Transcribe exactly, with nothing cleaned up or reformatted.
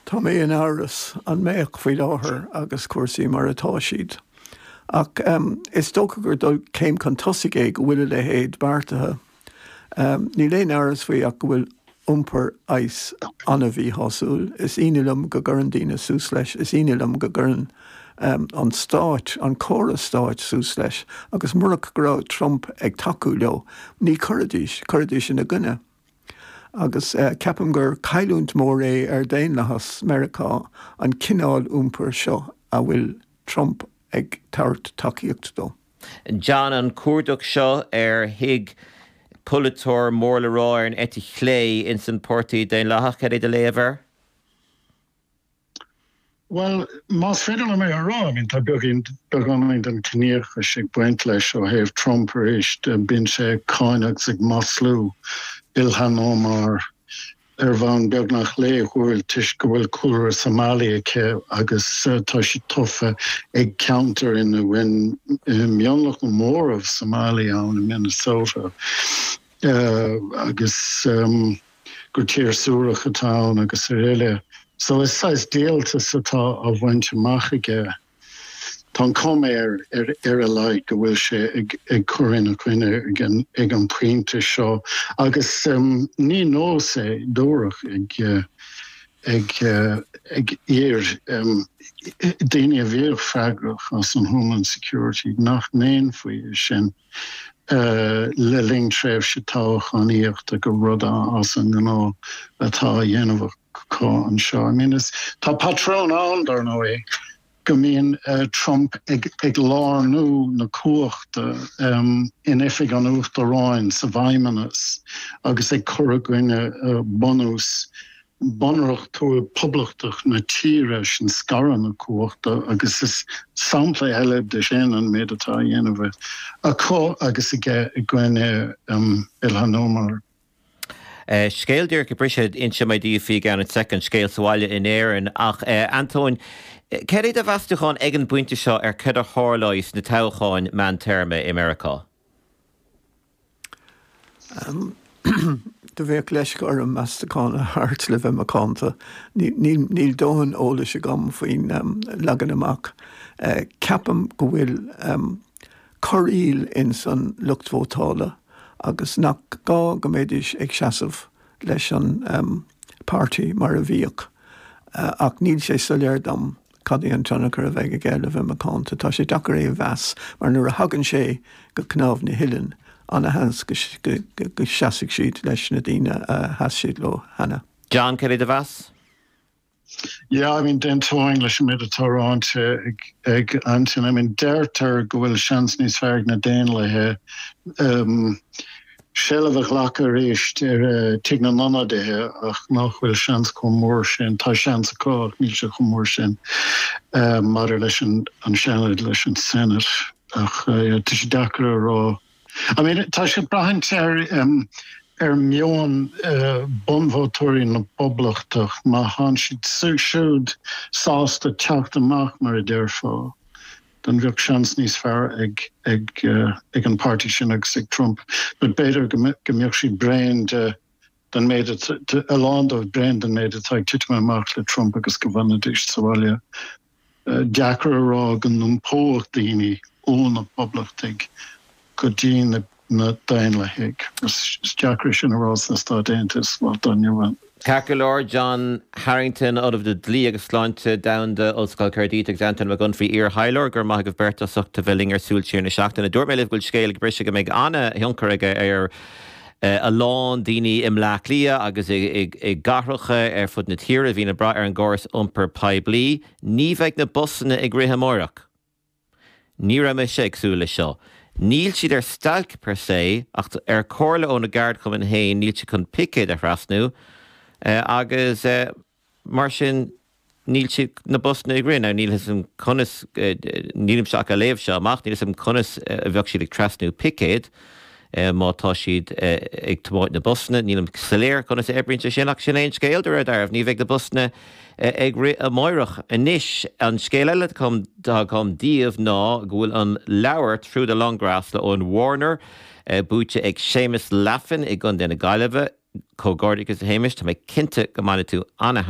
Tá mé in amhras an mbeadh faoi láthair agus cúrsaí mar atá siad. Ach um, is dócha gur dul céim chun tosaigh é go bhfuil a leithéid beartaithe. Um, Níl aon amhras faoi ach go bhfuil iompar ICE an-mhíshásúil. Is ionadh liom go gcuireann daoine suas leis, is ionadh liom go gcuireann um, an stáit an córas stáit suas leis, agus murach go raibh Trump ag tacú leo, ní chuirfidís chuirfidís ina gcoinne. Agus uh, ceapaim gur cailliúint mór é ar daonlathas Meiriceá an cineál iompair seo a bhfuil Trump ag tabhairt tacaíocht dó. John an cuardach seo ar thigh polaiteoir mór le rá ar an eite chlé in san Páirtí Daonlathach cad é do léamh air? Well, más féidir liom é a rá, I tá beagán beagáinín den chiníochas ag baint leis ó thaobh Trump arís bíonn sé ag cáineadh agus ag maslú Ilhan Omar ar bhonn beagnach laethúil toisc go bhfuil cúlra Somali aici agus tá sí tofa ag ceantar ina bhfuil mionlach mór Somali ann i Minnesota. Uh, agus um, gur tír suarach atá ann agus araile. So is saghas díoltas atá á bhaint amach aige. Tá cuma ar ar ar a laghad go bhfuil sé ag ag cur ina choinne ag an ag an bpointe seo agus um, ní nós é dúrach ag uh, ag uh, ag iar um, daoine a bhíodh freagrach as an Homeland Security nach ndéanfaí sin uh, le linn tréimhse toghchánaíochta gur rud as an ngnáth atá á dhéanamh acu anseo. I mean, is, tá patrún ann dar ndóigh go mbíonn uh, Trump ag, ag lárnú na cumhachta um, in oifig an uachtaráin sa bhfeidhmeannas agus ag cur i gcoinne uh, bunús bunreachtúil poblachtach na tíre sin scaradh na cumhachta agus is sampla eile de sin an méid atá á dhéanamh acu agus aige i gcoinne um, Ilhan Omar. Uh, scéal díreach briseadh inse mé daoibh faoi gan an second scéal sa bhaile in Éirinn ach uh, Antóin, cad é do mheastachán ag an bpointe seo ar cad a tharlóidh sna toghcháin meántéarma i Meiriceá? Um, Do bheadh leisce orm meastachán a thabhairt le bheith macánta. Níl dóthain eolais agam faoin um, leagan amach. Uh, ceapaim go bhfuil um, corraíl in san lucht vótála agus nach gá go mbeidís ag seasamh leis an um, páirtí mar a bhíodh. Uh, ach níl sé soiléir dom cad é an tionchar a bheidh aige le bheith macánta tá sé deacair é a mheas mar nuair a thagann sé go cnámh na huilleann an-sheans go, go, go, go seasfaidh siad leis na daoine a sheas siad leo cheana. John cad é do mheas? Yeah, I mean d'aontóinn leis an méid atá ráite ag ag Anton. I mean deirtear go bhfuil seans níos fearr ag na Daonlathaithe um, seilbh a ghlacadh arís ar uh, Tigh na nIonadaithe ach nach bhfuil seans chomh mór sin tá seans acu ach níl sé chomh mór sin uh, maidir leis an an Seanad leis an Senate ach uh, tá sé deacair a rá. I mean tá sé ag brath ar um, ar meon uh, bunvótóirí na bPoblachtach má tá siad siúd sásta teacht amach mar a déarfá. Dan bheadh seans níos fearr ag ag uh, ag an páirtí sin agus ag Trump, but b'fhéidir go mbeadh siad bréan de den méid a lán dóibh bréan den méid atá ag titim amach le Trump agus go bhfanfaidís sa bhaile. Uh, deacair a rá go n-iompódh daoine ó na Poblachtaigh go dtí na na Daonlathaigh. Is deacair sin a rá sna Stáit Aontaithe má don Ceart go leor John Harrington Ollamh le Dlí agus Sláinte Domhanda Ollscoil Caerdydd agus Anton Mac Unfraidh iar-thaidhleoir go raibh maith agaibh beirt as ucht a bheith linn ar Súil Siar na Seachtaine. Dúirt mé libh go bhfuil scéal ag briseadh go mbeidh an-thionchar aige ar a lán daoine i mBleá Cliath agus i gcathracha ar fud na tíre bhíonn ag brath ar an gcóras iompar poiblí, ní bheidh na busanna ag rith amárach. Ní raibh mise ag súil leis seo. Níl siad ar stailc per se ach ar chomhairle ó na gceardchumann féin níl siad chun picéad a thrasnú agus mar sin níl siad na busanna ag rith níl a fhios agam conas nílimse ach ag léamh seo amach níl a fhios agam conas a bheadh siad ag trasnú picéad má tá siad ag tiomáint na busanna, nílim soiléir conas a oibríonn sé sin ach sin é an scéal de réir dealraimh, ní bheidh na busanna ag rith amárach. Anois an scéal eile atá agam daoibh ná go bhfuil an leabhar Through the Long Grass le Eoin Warner buaite ag Séamus Laffin i gContae na Gaillimhe, Comhghairdeachas a Shéamais, tá mé cinnte go mbainfidh tú an-